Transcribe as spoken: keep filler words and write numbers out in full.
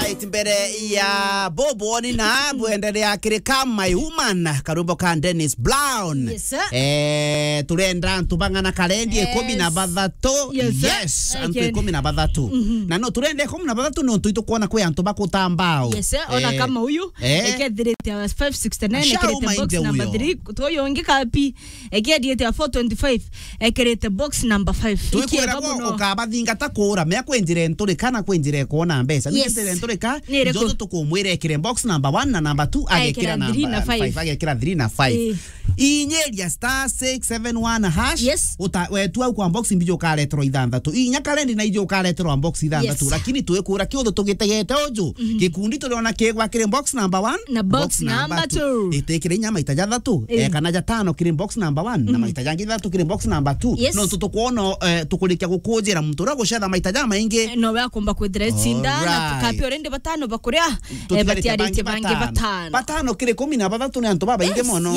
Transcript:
Right, mbere ya bobo ni na bwenderea kiri ka My Woman, karwimbo ka Dennis Brown. Yes, sir. Eh, turenda antu bang'ana karendi Eh, ikumi na bathatu. Yes, sir. Yes, antu Again. ikumi na bathatu. Mhm. Na no turenda ikumi na bathatu nontu itukwona kwi antu bakutambao. Yes, sir. Ona Eh, kama uyu, eh. Ekethirite five sixty-nine, Ashau ekirite box mainde number uyo. three. Tuyu ungi kapi, ekethirite four twenty-five, ekirite box number five. Twikwira Ikiega bo muno. Ukabathingata kuura, mea kwi njira nturika na kwi njira ikwona mbeca. Ni Yes. njira nturika, Ni iriku? Njoto tukumwira ekire box number one na number two, Agekira agekira three na number five. five, agekira three na five. Eh. Inyeria star six seven one hash, Yes. uta-, wetu au kwa box mbiji ukareterwa ithanthatu. Inya karendi na iji ukareterwa box ithanthatu. Yes. Lakini twikura kiuthu tugitegete uju. Mhm. Gikundi turiona kigwa kiri box number one, Na box box number number two. two. Itikire inya maita jathatu, Eh. eh, kana jatano kiri box number one, na Mhm. maita jangi jathatu kiri box number two. Yes. No tutukwona, eh, tukurikia gukujira muntu uria gucetha maita jamaingi. Eh, no we akumba kwithira icinda, na Alright. tukapi already batano bakuria, eh, Tutigarite batiarite bangi bangi batano. batano. Batano kiri ikumi na bathatu ni antu babaingi Yes, mono.